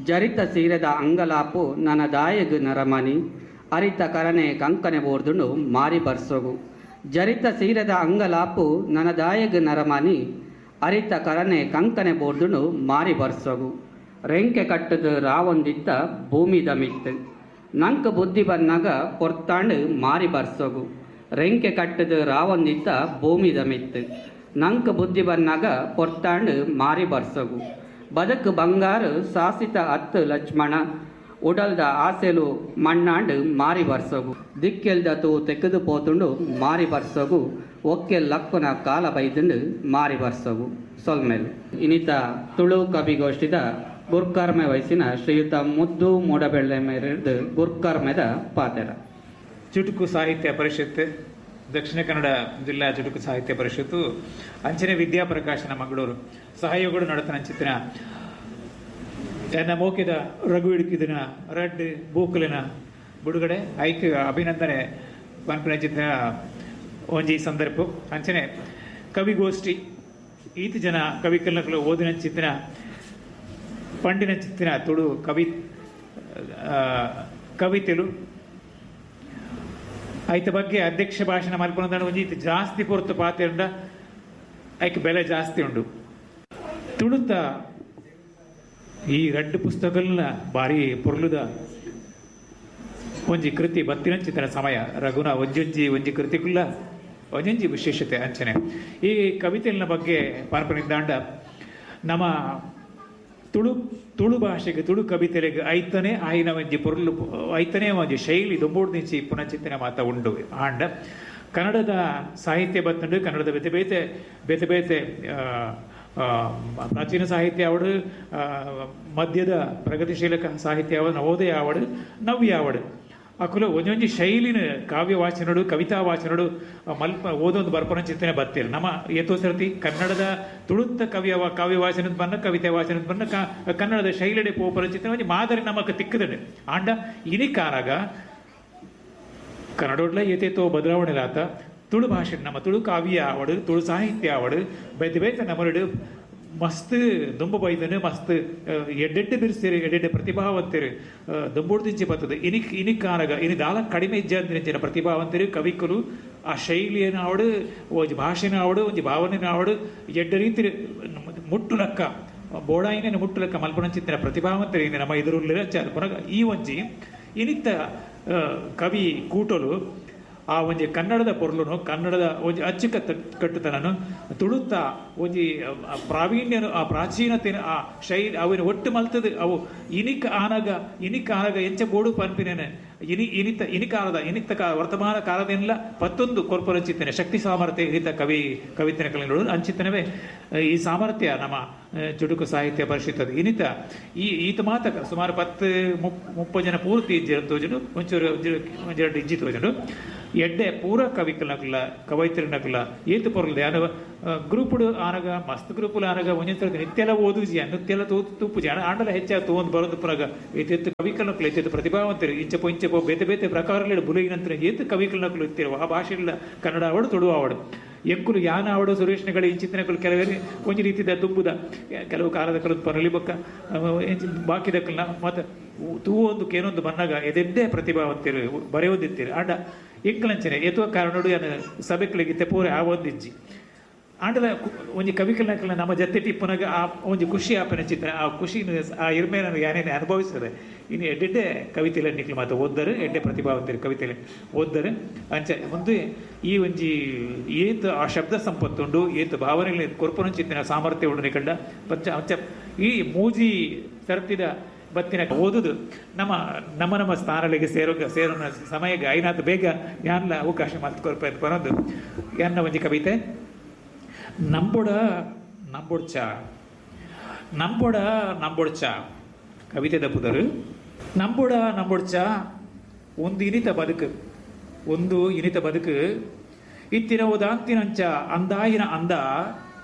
ಜರಿತ ಸೀರೆದ ಅಂಗಲಾಪು ನನ್ನ ದಾಯಗು ನರಮನಿ, ಅರಿತ ಕರನೆ ಕಂಕನೆ ಬೋರ್ದುಂಡು ಮಾರಿ ಬರ್ಸೋಗು. ಜರಿತ ಸೀರೆದ ಅಂಗಲಾಪು ನನ್ನ ದಾಯಗು ನರಮನಿ, ಅರಿತ ಕರನೆ ಕಂಕನೆ ಬೋರ್ದುಂಡು ಮಾರಿ ಬರ್ಸೋಗು. ರೆಂಕೆ ಕಟ್ಟದು ರಾವೊಂದಿತ್ತ ಭೂಮಿದ ಮಿತ್ತು, ನಂಕ ಬುದ್ಧಿ ಬನ್ನಾಗ ಪೊರ್ತಾಂಡು ಮಾರಿ ಬರ್ಸೋಗು. ರೆಂಕೆ ಕಟ್ಟದು ರಾವೊಂದಿತ್ತ ಭೂಮಿದ ಮಿತ್ತು, ನಂಕ ಬುದ್ಧಿ ಬನ್ನಾಗ ಪೊರ್ತಾಂಡು ಮಾರಿ ಬರ್ಸೋಗು. ಬದುಕು ಬಂಗಾರು ಸಾಸಿತ ಅತ್ತು ಲಕ್ಷ್ಮಣ, ಉಡಲ್ದ ಆಸೆಲು ಮಣ್ಣಾಂಡು ಮಾರಿ ಬರ್ಸೋಗು. ದಿಕ್ಕೆಲ್ದ ತೂ ತೆಗೆದು ಪೋತುಂಡು ಮಾರಿ ಬರ್ಸೋಗು, ಒಕ್ಕೆ ಲಕ್ಕುನ ಕಾಲ ಬೈದುಂಡು ಮಾರಿ ಬರ್ಸವು ಸೊಲ್ಮೇಲು. ಇನಿತ ತುಳು ಕವಿಗೋಷ್ಠಿದ ಗುರ್ಕರ್ಮೆ ವಯಸ್ಸಿನ ಶ್ರೀಯುತ ಮುದ್ದು ಮೂಡಬೆಳ್ಳೆ ಮೇರೆದು ಗುರ್ಕರ್ಮೆದ ಪಾತೆರ. ಚುಟುಕು ಸಾಹಿತ್ಯ ಪರಿಷತ್, ದಕ್ಷಿಣ ಕನ್ನಡ ಜಿಲ್ಲಾ ಚುಟುಕು ಸಾಹಿತ್ಯ ಪರಿಷತ್ತು ಅಂಚನೆ ವಿದ್ಯಾಪ್ರಕಾಶನ ಮಂಗಳೂರು ಸಹಯೋಗಗಳು ನಡತನ ಅಂಚಿತ್ತಿನ ಎನ್ನ ಮೋಕಿದ ರಘು ಇಡುಕಿದಿನ ರಡ್ಡ್ ಬೂಕುಲಿನ ಬಿಡುಗಡೆ ಐಕ್ ಅಭಿನಂದನೆ ಪನ್ಪಿನಂಚಿತ್ತಿನ ಒಂಜಿ ಸಂದರ್ಭ. ಅಂಚನೆ ಕವಿಗೋಷ್ಠಿ ಈತ ಜನ ಕವಿಕಲ್ನಕಲು ಓದಿನಂಚಿತ್ತಿನ ಪಂಡಿನಂಚಿತ್ತಿನ ತುಳು ಕವಿ ಕವಿತೆಲು ಐತ ಬಗ್ಗೆ ಅಧ್ಯಕ್ಷ ಭಾಷಣ ಮಲ್ಪೊಂದು ಒಂಜಿ ಜಾಸ್ತಿ ಪೊರ್ತು ಪಾತೆರಂಡ ಐಕ್ ಬೆಲೆ ಜಾಸ್ತಿ ಉಂಡು. ತುಳುತ ಈ ರಡ್ಡು ಪುಸ್ತಕಗಳನ್ನ ಭಾರಿ ಪೊರ್ಲುದ ಒಂಜಿ ಕೃತಿ ಬತ್ತಿನಂಚಿತನ ಸಮಯ ರಘುನ ಒಂಜೊಂಜಿ ಒಂಜಿ ಕೃತಿಕುಲ್ಲ ಒಂಜೊಂಜಿ ವಿಶೇಷತೆ. ಅಂಚನೆ ಈ ಕವಿತೆಲಿನ ಬಗ್ಗೆ ಪಾರ್ಪನಿದ್ದಾಂಡ ನಮ್ಮ ತುಳು ತುಳು ಭಾಷೆಗೆ ತುಳು ಕವಿತೆಲೆಗೆ ಐತನೇ ಆಯಿನ ಒಂಜಿ ಪೊರ್ಲು ಐತನೇ ಒಂಜಿ ಶೈಲಿ ದುಂಬುಡ್ದಿಂಚಿ ಪುನಚಿತ್ತನೆ ಮಾತ ಉಂಡು. ಆಂಡ ಕನ್ನಡದ ಸಾಹಿತ್ಯ ಬತ್ತುಂಡು, ಕನ್ನಡದ ಬೇತೆ ಬೇತೆ ಬೇತೆ ಬೇತೆ ಪ್ರಾಚೀನ ಸಾಹಿತ್ಯ ಆವಡು, ಮಧ್ಯದ ಪ್ರಗತಿಶೀಲ ಸಾಹಿತ್ಯ ಆವಡು, ನವೋದಯ ಆವಡು, ನವ್ಯ ಆವಡು, ಅಕುಲು ಒಂಜೊಂಜಿ ಶೈಲಿನ ಕಾವ್ಯ ವಾಚನಡು ಕವಿತಾ ವಾಚನಡು ಮಲ್ಪ ಓದೊಂದು ಬರ್ಪನ ಚಿಂತನೆ ಬತ್ತೀರಿ. ನಮ್ಮ ಏತೋ ಸರ್ತಿ ಕನ್ನಡದ ತುಳುತ್ತ ಕವಿಯ ಕಾವ್ಯ ವಾಚನದ ಬನ್ನ ಕವಿತೆ ವಾಚನದ ಬನ್ನ ಕನ್ನಡದ ಶೈಲಿಡೆ ಪೋಪರ ಚಿಂತನೆ ಒಂಜಿ ಮಾದರಿ ನಮಕ್ ತಿಕ್ಕದಂಡೆ. ಆಂಡ ಇನಿಕಾನಾಗ ಕನ್ನಡೋಡ್ಲ ಏತೇತೋ ಬದಲಾವಣೆ ಆತ ತುಳು ಭಾಷೆ ನಮ್ಮ ತುಳು ಕಾವ್ಯ ಆವಡು ತುಳು ಸಾಹಿತ್ಯ ಆವಡು ಬೇತೆ ಬೇತೆ ನಮ್ಮಡು ಮಸ್ತ್ ದುಂಬು ಬೈದನು ಮಸ್ತ್ ಎಡ್ಡೆಡ್ಡೆ ಬಿರ್ಸಿರು ಎಡ್ಡೆಡ್ಡೆ ಪ್ರತಿಭಾವಂತರು ದುಂಬುಡ್ದಿಂಚಿ ಬರ್ತದೆ. ಇನಿಕ್ ಇನಿಕ್ಕಾನಗ ಇನಿ ದಾಲ ಕಡಿಮೆ ಇಜ್ಜಾಂದಿನ ಪ್ರತಿಭಾವಂತರು ಕವಿಕಲು ಆ ಶೈಲಿಯನ್ನು ಆವಡು ಒಂಜಿ ಭಾಷೆನ ಆವಡು ಒಂಜಿ ಭಾವನೆನ ಆವಡು ಎಡ್ಡೆ ರೀತಿ ಮುಟ್ಟುಲಕ್ಕ ಬೋಡಾಯಿನ ಮುಟ್ಟುಲಕ್ಕ ಮಲ್ಪನಂಚಿತ್ತಿನ ಪ್ರತಿಭಾವಂತರು ಇನಿ ನಮ್ಮ ಎದುರುಲ್ಲ ಪುನಗ ಈ ಒಂಜಿ ಇನಿತ್ತ ಕವಿ ಕೂಟಲು ಆ ಒಂಜಿ ಕನ್ನಡದ ಪೊರ್ಲುನು ಕನ್ನಡದ ಒಂಜಿ ಅಚ್ಚುಕಟ್ಟು ಕಟ್ಟುತನನು ತುಳುತ್ತ ಒಂಜಿ ಪ್ರಾವೀಣ್ಯನು ಆ ಪ್ರಾಚೀನತೆನ ಆ ಶೈಲಿ ಅವಿನ ಒಟ್ಟು ಮಲ್ತದ ಅವು ಇನಿಕ್ ಆನಗ ಇನಿಕ್ ಆನಗ ಎಂಚ ಬೋಡು ಪನ್ಪಿನೇನೆ ಇನಿ ಇನಿತ ಇನಿಕಾಲದ ಇನಿತ ಕಾ ವರ್ತಮಾನ ಕಾಲದೆಲ್ಲ ಪತ್ತೊಂದು ಕೊರ್ಪರಂಚಿತ್ತನೆ ಶಕ್ತಿ ಸಾಮರ್ಥ್ಯ ಇನಿತ ಕವಿ ಕವಿತನ ಕಲಿಗಳು ಅಂಚಿತ್ತನವೇ ಈ ಸಾಮರ್ಥ್ಯ ನಮ್ಮ ಚುಟುಕು ಸಾಹಿತ್ಯ ಪರಿಷತ್ ಇನಿತ ಈ ಈತ ಮಾತ ಸುಮಾರು ಪತ್ತು ಮುಪ್ ಮುಪ್ಪ ಜನ ಪೂರ್ತಿ ಇಜ್ಜಿ ತೋಜುಡು ಒಂಚೂರು ಒಂಜೆರಡು ಇಜ್ಜಿ ತೋಜುಡು ಎಡ್ಡೆ ಪೂರ ಕವಿಕಲ್ನಕುಲ ಕವೈತ್ರಿನಕುಲ ಏತು ಪೊರ್ಲು ಯಾನ ಗ್ರೂಪುಡು ಆನಗ ಮಸ್ತ್ ಗ್ರೂಪುಲು ಆನಗ ಒಂಜೊಂದು ನಿತ್ಯಲ ಓದುಜಿ ನಿತ್ಯಲ ತೂ ತೂಪುಜಿ ಆಂಡಲ ಹೆಚ್ಚಾಗ ತೂವೊಂದು ಬರೋದು ಪುನಗ ಏತೆತ್ತು ಕವಿಕಲ್ನಕುಲು ಏತೆತ್ತು ಪ್ರತಿಭಾವಂತರು ಇಂಚಪೋ ಇಂಚಪೋ ಬೇತೆ ಬೇತೆ ಪ್ರಕಾರಗಳು ಬುಲಗಿನಂತರ ಏತು ಕವಿಕಲ್ನಕುಲು ಇತ್ತಿರುವ ಆ ಭಾಷೆಗಳ ಕನ್ನಡ ಆವಡು ತುಳು ಆವಡು ಎಂಕುಲು ಯಾನ ಆವಡು ಸುರೇಶ್ನಗಳು ಇಂಚಿತ್ತಿನಕುಲು ಕೆಲವೇ ಒಂಜಿ ರೀತಿದ ದುಂಬುದ ಕೆಲವು ಕಾಲದ ಕಲದ ಪರಲಿ ಬೊಕ್ಕ ಬಾಕಿದಕ್ಕಲ್ನ ಮತ್ತು ತೂವೊಂದು ಕೇನೊಂದು ಬನ್ನಗ ಎದೆಡ್ಡೆ ಪ್ರತಿಭಾವಂತಿರು ಬರೆಯೋದಿತ್ತೀರಿ. ಆಂಡ ಎಂಕಲಂಚನೆ ಏತೋ ಕಾರಣಡು ಯಾನ ಸಭೆಗಳಿಗೆ ತೆಪೋರೆ ಆವೊಂದಿಜ್ಜಿ ಆಂಡಲ ಒಂಜಿ ಕವಿಕಲ್ನಕಲ್ನ ನಮ್ಮ ಜೊತೆ ಪುನಗ ಆ ಒಂಜಿ ಖುಷಿ ಆಪನ ಚಿತ್ರ ಆ ಖುಷಿ ಆ ಇರ್ಮೇನ ಯಾನೇನೆ ಅನುಭವಿಸ್ತದೆ. ಇನ್ನು ಎಡ್ಡೆಡ್ಡೆ ಕವಿತೆಲೆ ನಿಕ್ಲು ಮಾತ ಓದ್ದರು ಎಡ್ಡೆ ಪ್ರತಿಭಾವಂತರು ಕವಿತೆಲೆ ಓದ್ದರು ಅಂಚ ಒಂದು ಈ ಒಂಜಿ ಏತು ಆ ಶಬ್ದ ಸಂಪತ್ತುಂಡು ಏತು ಭಾವನೆಗಳ ಕೊರ್ಪನ ಚಿತ್ತಿನ ಸಾಮರ್ಥ್ಯ ಉಂಡು ನಿಕಂಡ ಪಚ್ಚ ಅಂಚ ಈ ಮೂಜಿ ಸರ್ತಿದ ಬತ್ತಿನ ಓದುದು ನಮ್ಮ ನಮ್ಮ ನಮ್ಮ ಸ್ಥಾನಗಳಿಗೆ ಸೇರೋ ಸೇರೋಣ ಸಮಯಕ್ಕೆ ಐನಾತ್ ಬೇಗ ಯಾನ್ಲ ಅವಕಾಶ ಮಲ್ತ್ ಕೊರ್ಪ ಬರೋದು ಯಾನ್ನ ಒಂಜಿ ಕವಿತೆ. ನಂಬೊಡ ನಂಬೊಡ್ಚ ನಂಬೊಡ ನಂಬೊಡ್ಚ ಕವಿತೆ ದಪ್ಪುದರು. ನಂಬೊಡ ನಂಬೊಡ್ಚ ಒಂದು ಇನಿತ ಬದುಕು ಒಂದು ಇನಿತ ಬದುಕು ಇತ್ತಿರವುದಾಂತಿನಂಚ ಅಂದಾಯಿನ ಅಂದ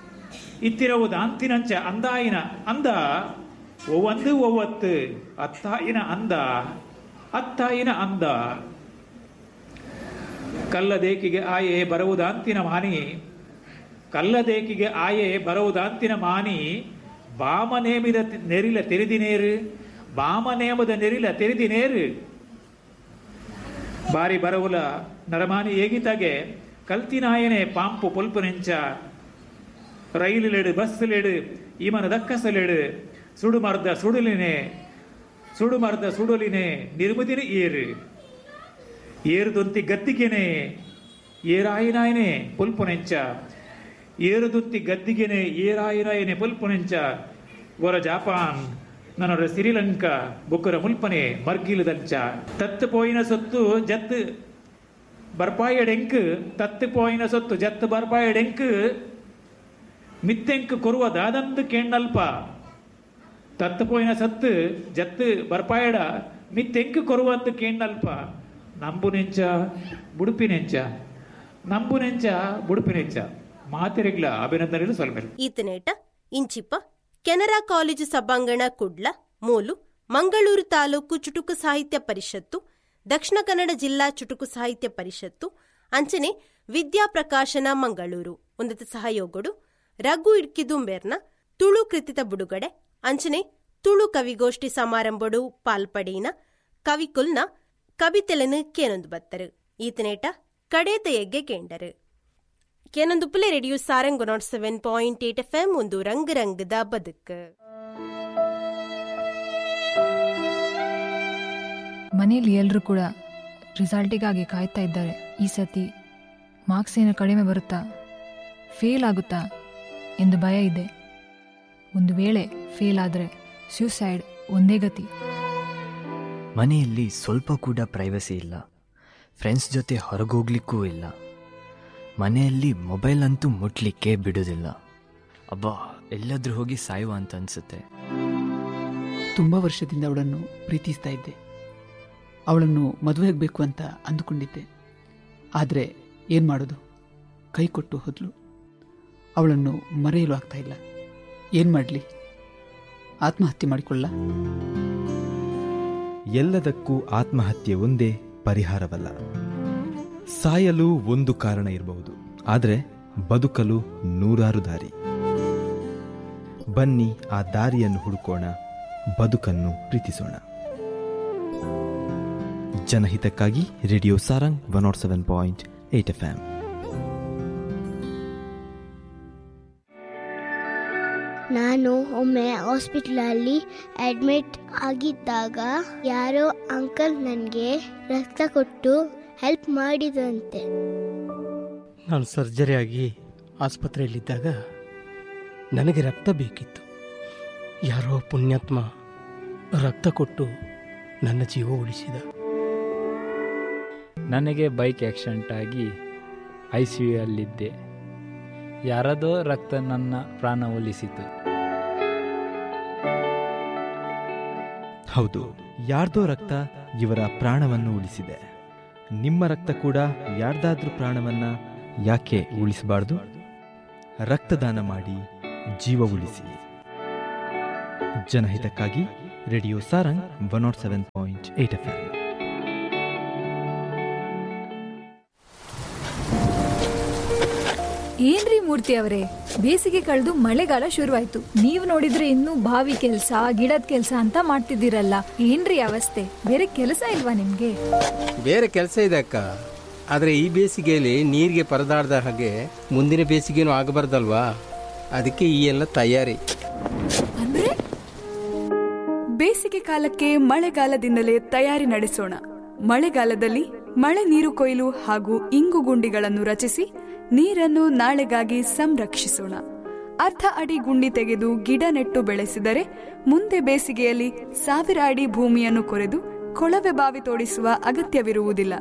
ಇತ್ತಿರವುದಾಂತಿನಂಚ ಅಂದಾಯಿನ ಅಂದ ಒವ್ವಂದು ಒವ್ವತ್ತು ಅತ್ತಾಯಿನ ಅಂದ ಅತ್ತಾಯಿನ ಅಂದ ಕಲ್ಲದೇಕಿಗೆ ಆಯೆ ಬರುವುದಾಂತಿನ ಮಾನಿ ಕಲ್ಲದೇಕಿಗೆ ಆಯೆ ಬರುವುದಾಂತಿನ ಮಾನಿ ಬಾಮನೇಮಿದ ನೆರಿಲ ತೆರಿದಿನೇರು ಬಾಮನೇಮದ ನೆರಿಲ ತೆರಿದಿನೇರು ಬಾರಿ ಬರವುಲ ನರಮಾನಿ ಏಗಿತಾಗೆ ಕಲ್ತಿನಾಯನೆ ಪಾಂಪು ಪೊಲ್ಪುನೆಂಚ ರೈಲುಲೆಡು ಬಸ್ಸುಲೆಡು ಈಮನ ದಕ್ಕಸಲೆಡು ಸುಡುಮರ್ದ ಸುಡುಲಿನೆ ಸುಡುಮರ್ದ ಸುಡುಲಿನೆ ನಿರ್ಮುದಿನ ಏರು ಏರುದೊಂತಿ ಗದ್ದಿಗೆನೆ ಏರಾಯಿನಾಯನೆ ಪೊಲ್ಪುನೆಂಚ ಏರುದುತ್ತಿ ಗದ್ದಿಗೆನೆ ಏರಾಯಿನಾಯನೆ ಪೊಲ್ಪುನೆಂಚ ಗೊರ ಜಾಪಾನ್ ನನೊರ ಸಿರಿಲಂಕಾ ಬೊಕ್ಕರ ಮುಲ್ಪನೆ ಮರ್ಗಿಲದಂಚ ತತ್ತು ಪೋಯಿನ ಸೊತ್ತು ಜತ್ತು ಬರ್ಪಾಯಡೆಂಕ್ ತತ್ತು ಪೋಯಿನ ಸೊತ್ತು ಜತ್ತು ಬರ್ಪಾಯಡೆಂಕ್ ಮಿತ್ತೆಂಕ್ ಕೊರುವ ದಾದಂದು ಕೇಣ್ಣಲ್ಪ ತತ್ತು ಪೋಯಿನ ಸತ್ತು ಜತ್ತು ಬರ್ಪಾಯಡ ಮಿತ್ತೆಂಕ್ ಕೊರುವಂದು ಕೇಣ್ಣಲ್ಪ ನಂಬು ನೆಂಚ ಬುಡುಪಿನೆಂಚ ನಂಬು ನೆಂಚ ಬುಡುಪಿನೆಂಚ ಮಾತೆರೆಗ್ಲ ಅಭಿನಂದನೆಗಳು ಸೊಲ್ಮೆಲು. ಈತನೇಟ ಇಂಚಿಪ ಕೆನರಾ ಕಾಲೇಜು ಸಭಾಂಗಣ ಕುಡ್ಲ ಮೂಲು ಮಂಗಳೂರು ತಾಲೂಕು ಚುಟುಕು ಸಾಹಿತ್ಯ ಪರಿಷತ್ತು ದಕ್ಷಿಣ ಕನ್ನಡ ಜಿಲ್ಲಾ ಚುಟುಕು ಸಾಹಿತ್ಯ ಪರಿಷತ್ತು ಅಂಚನೆ ವಿದ್ಯಾ ಪ್ರಕಾಶನ ಮಂಗಳೂರು ಒಂದತ ಸಹಯೋಗಡು ರಘು ಇಡ್ಕಿದುಂಬೆರ್ನ ತುಳು ಕೃತಿತ ಬುಡುಗಡೆ ಅಂಚನೆ Tulu ಕವಿಗೋಷ್ಠಿ ಸಮಾರಂಭಡು ಪಾಲ್ಪಡೀನ ಕವಿಕುಲ್ನ ಕವಿತೆಲನು ಕೇನೊಂದು ಬತ್ತರು. ಈತನೇಟ ಕಡೇತ ಎಗ್ಗೆ ಕೇಂಡರು. ಕೇನೊಂದು Phule radio Sarang nought seven point eight F M ಒಂದು ರಂಗ್ ರಂಗದ ಬದುಕು. ಮನೆಯಲ್ಲಿ ಎಲ್ಲರೂ ಕೂಡ ರಿಸಲ್ಟಿಗಾಗಿ ಕಾಯ್ತಾ ಇದ್ದಾರೆ. ಈ ಸತಿ ಮಾರ್ಕ್ಸ್ ಏನು ಕಡಿಮೆ ಬರುತ್ತಾ, ಫೇಲ್ ಆಗುತ್ತಾ ಎಂದು ಭಯ ಇದೆ. ಒಂದು ವೇಳೆ ಫೇಲ್ ಆದರೆ ಸ್ಯೂಸೈಡ್ ಒಂದೇ ಗತಿ. ಮನೆಯಲ್ಲಿ ಸ್ವಲ್ಪ ಕೂಡ ಪ್ರೈವಸಿ ಇಲ್ಲ, ಫ್ರೆಂಡ್ಸ್ ಜೊತೆ ಹೊರಗೋಗ್ಲಿಕ್ಕೂ ಇಲ್ಲ, ಮನೆಯಲ್ಲಿ ಮೊಬೈಲ್ ಅಂತೂ ಮುಟ್ಲಿಕ್ಕೆ ಬಿಡೋದಿಲ್ಲ. ಅಬ್ಬಾ, ಎಲ್ಲಾದರೂ ಹೋಗಿ ಸಾಯುವ ಅಂತ ಅನಿಸುತ್ತೆ. ತುಂಬ ವರ್ಷದಿಂದ ಅವಳನ್ನು ಪ್ರೀತಿಸ್ತಾ ಇದ್ದೆ, ಅವಳನ್ನು ಮದುವೆ ಆಗಬೇಕು ಅಂತ ಅಂದುಕೊಂಡಿದ್ದೆ. ಆದರೆ ಏನು ಮಾಡೋದು, ಕೈ ಕೊಟ್ಟು ಹೋದ್ಲು. ಅವಳನ್ನು ಮರೆಯಲು ಆಗ್ತಾ ಇಲ್ಲ. ಏನು ಮಾಡಲಿ? ಆತ್ಮಹತ್ಯೆ ಮಾಡಿಕೊಳ್ಳ? ಎಲ್ಲದಕ್ಕೂ ಆತ್ಮಹತ್ಯೆ ಒಂದೇ ಪರಿಹಾರವಲ್ಲ. ಸಾಯಲು ಒಂದು ಕಾರಣ ಇರಬಹುದು, ಆದರೆ ಬದುಕಲು ನೂರಾರು ದಾರಿ. ಬನ್ನಿ ಆ ದಾರಿಯನ್ನು ಹುಡುಕೋಣ, ಬದುಕನ್ನು ಪ್ರೀತಿಸೋಣ. ಜನಹಿತಕ್ಕಾಗಿ radio Sarang one nought seven point eight F M. ನಾನು ಒಮ್ಮೆ ಹಾಸ್ಪಿಟ್ಲಲ್ಲಿ ಅಡ್ಮಿಟ್ ಆಗಿದ್ದಾಗ ಯಾರೋ ಅಂಕಲ್ ನನಗೆ ರಕ್ತ ಕೊಟ್ಟು ಹೆಲ್ಪ್ ಮಾಡಿದಂತೆ. ನಾನು ಸರ್ಜರಿಯಾಗಿ ಆಸ್ಪತ್ರೆಯಲ್ಲಿದ್ದಾಗ ನನಗೆ ರಕ್ತ ಬೇಕಿತ್ತು. ಯಾರೋ ಪುಣ್ಯಾತ್ಮ ರಕ್ತ ಕೊಟ್ಟು ನನ್ನ ಜೀವ ಉಳಿಸಿದ. ನನಗೆ ಬೈಕ್ ಆಕ್ಸಿಡೆಂಟ್ ಆಗಿ I C you ಅಲ್ಲಿದ್ದೆ. ಯಾರದೋ ರಕ್ತ ನನ್ನ ಪ್ರಾಣ ಉಳಿಸಿತು. ಹೌದು, ಯಾರ್ದೋ ರಕ್ತ ಇವರ ಪ್ರಾಣವನ್ನು ಉಳಿಸಿದೆ. ನಿಮ್ಮ ರಕ್ತ ಕೂಡ ಯಾರ್ದಾದ್ರೂ ಪ್ರಾಣವನ್ನ ಯಾಕೆ ಉಳಿಸಬಾರ್ದು? ರಕ್ತದಾನ ಮಾಡಿ ಜೀವ ಉಳಿಸಿ. ಜನಹಿತಕ್ಕಾಗಿ radio Sarang one nought seven point eight F M. ಏನ್ರಿ ಮೂರ್ತಿ ಅವರೇ, ಬೇಸಿಗೆ ಕಳೆದು ಮಳೆಗಾಲ ಶುರುವಾಯ್ತು, ನೀವು ನೋಡಿದ್ರೆ ಇನ್ನೂ ಬಾವಿ ಕೆಲಸ ಗಿಡದ ಕೆಲಸ ಅಂತ ಮಾಡ್ತಿದ್ದೀರಲ್ಲ, ಏನ್ರಿ ಅವಸ್ಥೆ? ಬೇರೆ ಕೆಲಸ ಇಲ್ವಾ ನಿಮ್ಗೆ? ಬೇರೆ ಕೆಲಸ ಇದೆ ಅಕ್ಕ, ಆದ್ರೆ ಈ ಬೇಸಿಗೆಯಲ್ಲಿ ನೀರಿಗೆ ಪರದಾಡ್ದ ಹಾಗೆ ಮುಂದಿನ ಬೇಸಿಗೆನೂ ಆಗಬಾರ್ದಲ್ವಾ? ಅದಕ್ಕೆ ಈ ಎಲ್ಲ ತಯಾರಿ. ಅಂದ್ರೆ ಬೇಸಿಗೆ ಕಾಲಕ್ಕೆ ಮಳೆಗಾಲದಿಂದಲೇ ತಯಾರಿ ನಡೆಸೋಣ. ಮಳೆಗಾಲದಲ್ಲಿ ಮಳೆ ನೀರು ಕೊಯ್ಲು ಹಾಗೂ ಇಂಗು ಗುಂಡಿಗಳನ್ನು ರಚಿಸಿ ನೀರನ್ನು ನಾಳೆಗಾಗಿ ಸಂರಕ್ಷಿಸೋಣ. ಅರ್ಧ ಅಡಿ ಗುಂಡಿ ತೆಗೆದು ಗಿಡ ನೆಟ್ಟು ಬೆಳೆಸಿದರೆ ಮುಂದೆ ಬೇಸಿಗೆಯಲ್ಲಿ ಸಾವಿರ ಅಡಿ ಭೂಮಿಯನ್ನು ಕೊರೆದು ಕೊಳವೆ ಬಾವಿ ತೋಡಿಸುವ ಅಗತ್ಯವಿರುವುದಿಲ್ಲ.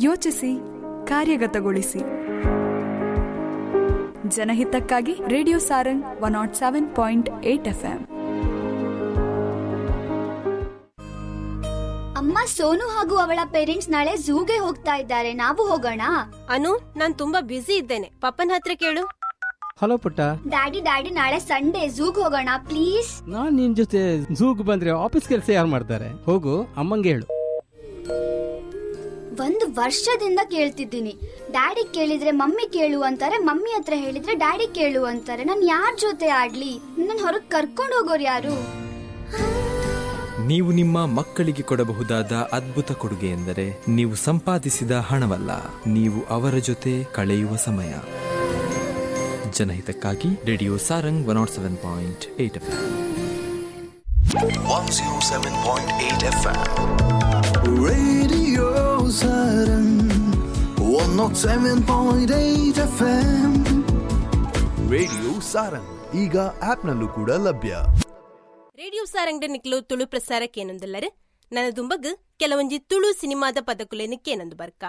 ಯೋಚಿಸಿ, ಕಾರ್ಯಗತಗೊಳಿಸಿ. ಜನಹಿತಕ್ಕಾಗಿ radio Sarang one nought seven point eight F M. ಅಮ್ಮ, ಸೋನು ಹಾಗೂ ಅವಳ ಪೇರೆಂಟ್ಸ್ ನಾಳೆ ಝೂಗೆ ಹೋಗ್ತಾ ಇದ್ದಾರೆ, ನಾವು ಹೋಗೋಣ? ಅನು, ನಾನ್ ತುಂಬಾ ಬ್ಯುಸಿ ಇದ್ದೇನೆ, ಪಪ್ಪನ ಹತ್ರ ಕೇಳು. ಹಲೋ ಪುಟ್ಟ. ಡ್ಯಾಡಿ ಡ್ಯಾಡಿ ನಾಳೆ ಸಂಡೇ ಝೂಗ್ ಹೋಗೋಣ ಪ್ಲೀಸ್. ನಾನ್ ನಿನ್ ಜೊತೆ ಝೂಗ್ ಬಂದ್ರೆ ಆಫೀಸ್ ಕೆಲಸ ಯಾರು ಮಾಡ್ತಾರೆ? ಹೋಗು, ಅಮ್ಮಂಗೆ ಹೇಳು. ಒಂದು ವರ್ಷದಿಂದ ಕೇಳ್ತಿದ್ದೀನಿ, ಡ್ಯಾಡಿ ಕೇಳಿದ್ರೆ ಮಮ್ಮಿ ಕೇಳು ಅಂತಾರೆ, ಮಮ್ಮಿ ಹತ್ರ ಹೇಳಿದ್ರೆ ಡ್ಯಾಡಿ ಕೇಳು ಅಂತಾರೆ. ನಾನ್ ಯಾರ ಜೊತೆ ಆಡ್ಲಿ? ನನ್ನ ಹೊರಗ್ ಕರ್ಕೊಂಡು ಹೋಗೋರು ಯಾರು? ನೀವು ನಿಮ್ಮ ಮಕ್ಕಳಿಗೆ ಕೊಡಬಹುದಾದ ಅದ್ಭುತ ಕೊಡುಗೆ ಎಂದರೆ ನೀವು ಸಂಪಾದಿಸಿದ ಹಣವಲ್ಲ, ನೀವು ಅವರ ಜೊತೆ ಕಳೆಯುವ ಸಮಯ. ಜನಹಿತಕ್ಕಾಗಿ radio Sarang one nought seven point eight F M. One zero seven point eight F M radio Sarang one nought seven point eight F M. Radio Sarang ಈಗ ಆಪ್ನಲ್ಲೂ ಕೂಡ ಲಭ್ಯ. ರೇಡಿಯೋ ಸಾರಂಗ್ ನಿಕ್ಲು ತುಳು ಪ್ರಸಾರಕ್ಕೇನೊಂದಲ್ಲರು ನನ್ನ ದುಂಬಗ್ ಕೆಲವೊಂಜಿ ತುಳು ಸಿನಿಮಾದ ಪದಕುಲೇನು ಕೇನಂದು ಬರ್ಕ.